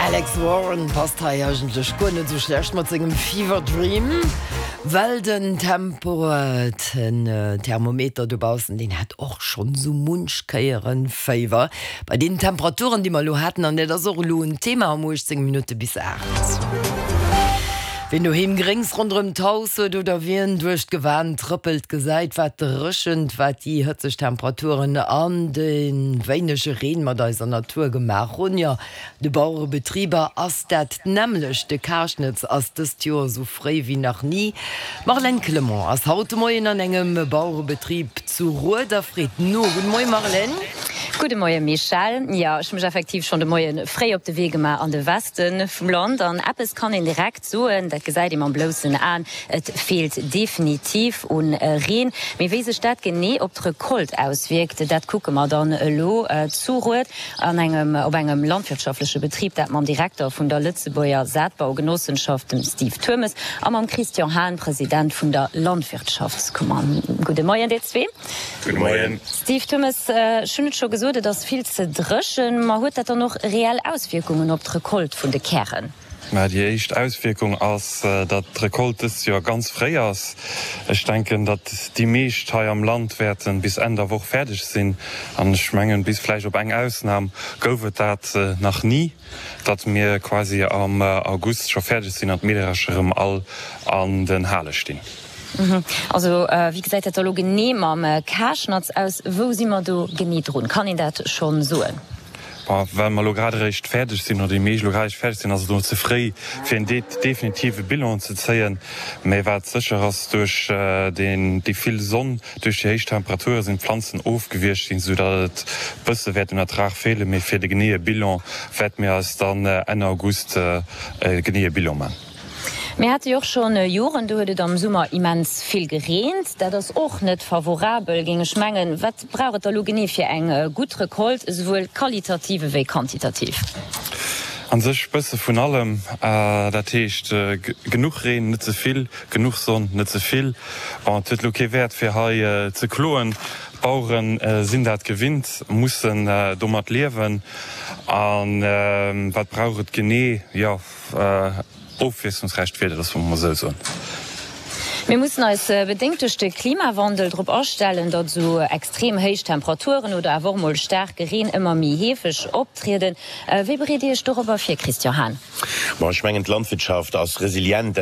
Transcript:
Alex Warren passt hei eigentlech guer net sou schlecht mat sengem Fever Dream, well den Tempo, den Thermometer dobaussen, deen hat och schonn sou munch Kéieren Féiwer bei deenen Temperaturen, déi mer elo haten. An dat ass och elo en Thema um 18 Minutte bis 8. Wien doheem Gréngs ronderëm d'Haus huet oder wien duerch d'Gewan trëppelt, gesäit, wat d'Dréchent, wat déi hëtzeg Temperaturen an de wéinege Reen mat eiser Natur gemaach hunn. Jo, de Bauerebetriber ass dat d'nämmlecht. De Karschnëtz ass dëst Joer esou fréi wéi nach ni. D'Marlène Clement ass haut de Moien an engem Bauerebetrib zu Rued a freet no. Gudde Moie Marlène. Gudde Moie Michèle. Jo, ech hu mech effektiv schonn de Moie fréi op de Wee gemaach an de Westen. Vum Land. An eppes kann een direkt soen, dat gesäit ee mam bloussen Aen, et feelt definitiv un Reen. Mee wéi sech dat genee op d'Recolte auswierkt, dat kucke mer dann elo zu Rued an engem op engem landwirtschaftleche Betrib, dat mam Direkter vun der Lëtzebuerger Saatbaugenossenschaft, dem Steve Turmes, a mam Christian Hahn, President vun der Landwirtschaftskummer. Gudde Moien dir zwee. Gudde Moien. Steve Thummes, ech hunn et scho gesot, et ass vill ze dréchen. Ma huet dat dann och reell Auswierkungen op d'Recolte vun de Kären? Mä déi éischt Auswierkung ass, datt d'Recolte dëst Joer ganz fréi ass. Ech denken, datt déi meescht hei am Land wäerte bis Enn der Woch fäerdeg sinn. An ech mengen, bis vläicht op eng Ausnam gouf et dat nach ni, datt mir quasi am August scho fäerdeg sinn an d'Meederescher erëm all an den Hale stinn. Also wéi gesäit dat da lo genee mam Karschnatz aus? Wou si mer do genee drun? Kann een dat schonn soen? Bon, well mer elo grad eréischt fäerdeg sinn, oder déi meescht elo grad eréischt fäerdeg sinn, ass et elo ze fréi fir en definitive Bilan ze zéien. Mä wat sécher ass, duerch déi vill Sonn, duerch déi héich Temperature sinn d'Planzen ofgewiergt ginn, soudatt et bësse wäert un Ertrag feelen. Mee fir de geneeë Bilan wäerte mir eis dann Enn August e geneeë Bilan man. Mir hate jo och schonn Joren, do huet et am Summer immens vill gereent. Dat ass och net favorabel, géing ech mengen. Wat brauch et da lo genee fir eng gutt Recolte, esouwuel qualitativ ewéi quantitativ? An sech bësse vun allem. Dat heescht genuch Reen, net ze vill, genuch Sonn, net ze vill. Bon, et huet elo kee Wäert fir hei ze kloen. D'Bauere sinn dat gewinnt, mussen domat liewen. A wat brauch et genee? Jo. Ofwiesslungsräicht Wieder, dass mer mol esou soen. Mir mussen eis bedéngt duerch de Klimawandel drop astellen, datt esou extrem héich Temperaturen oder awer och mol staarke Reen ëmmer méi heefeg optrieden. Wéi bereet Dir Iech dorobber vir, Christian Hahn? Bon, ech mengen, d'Landwirtschaft ass resilient.